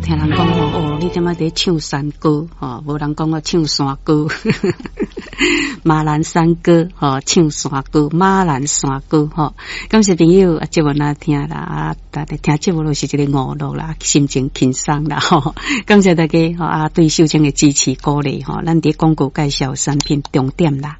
聽人講吼，哦，你這擺佇唱山歌吼，無人講我唱山歌，馬蘭山歌吼，唱山歌，馬蘭山歌吼。感謝朋友啊，節目若聽啦，啊，大家聽節目就是一個娛樂啦，心情輕鬆啦吼。感謝大家吼啊，對秀清的支持鼓勵吼，咱佇廣告介紹產品重點啦，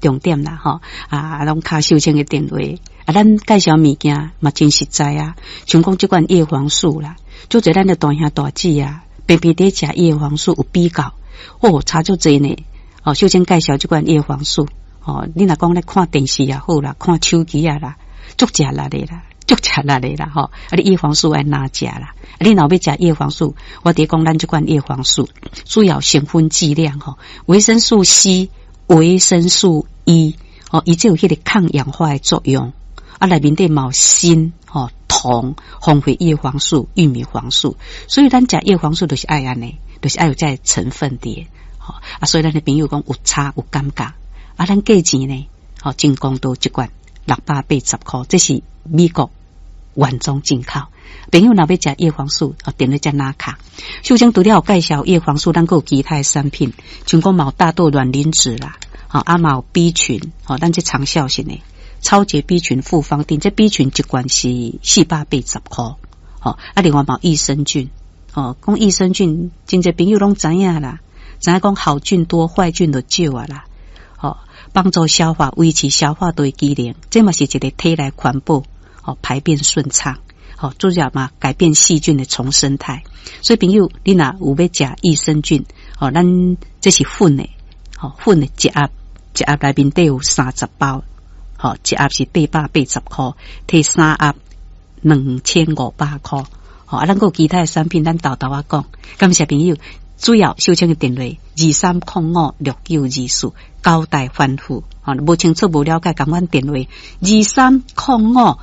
重點啦吼啊，攏敲秀清的電話啊，咱介紹物件嘛真實在啊，像講這款葉黃素啦。足濟咱的大兄大姊啊，平平佇食葉黃素有比較，哦，差足濟呢。哦，秀清介紹這款葉黃素，哦，你若講咧看電視也好啦，看手機啊啦，足食力的啦，足食力的啦，吼。啊，你葉黃素愛哪食啦？啊，你若欲食葉黃素，我佇講咱這款葉黃素主要成分劑量吼，維生素 C、維生素 E，哦，伊這有彼個抗氧化的作用。啊，內面底嘛有鋅，吼。銅、紅血葉黃素、玉米黃素，所以咱食葉黃素就是愛按呢，就是愛有這個成分佇。吼啊，所以咱的朋友講有差有感覺，啊，咱價錢呢，吼，真公道一罐680塊，這是美國原裝進口。朋友若欲食葉黃素，哦，電話才拿卡。秀清除了有介紹葉黃素，咱閣有其他的產品，像講嘛有大豆卵磷脂啦，吼，啊嘛有 B 群，吼，咱這長效性的。超級 B 群複方錠，這 B 群一罐是480塊，吼啊，另外嘛有益生菌，吼，講益生菌，真濟朋友攏知影啦，知影講好菌多，壞菌就少啊啦，吼，幫助消化，維持消化道的機能，這嘛是一個體內環保，吼，排便順暢，吼，主要嘛改變細菌的叢生態，所以朋友，你若有欲食益生菌，吼，咱這是粉的，吼，粉的一盒，一盒內面底有30包。吼，一盒是880塊，提三盒2500塊。吼，啊，咱閣有其他的產品，咱沓沓仔講。感謝朋友，主要秀清的電話23056924，交代吩咐。吼，無清楚無了解，共阮電話2305。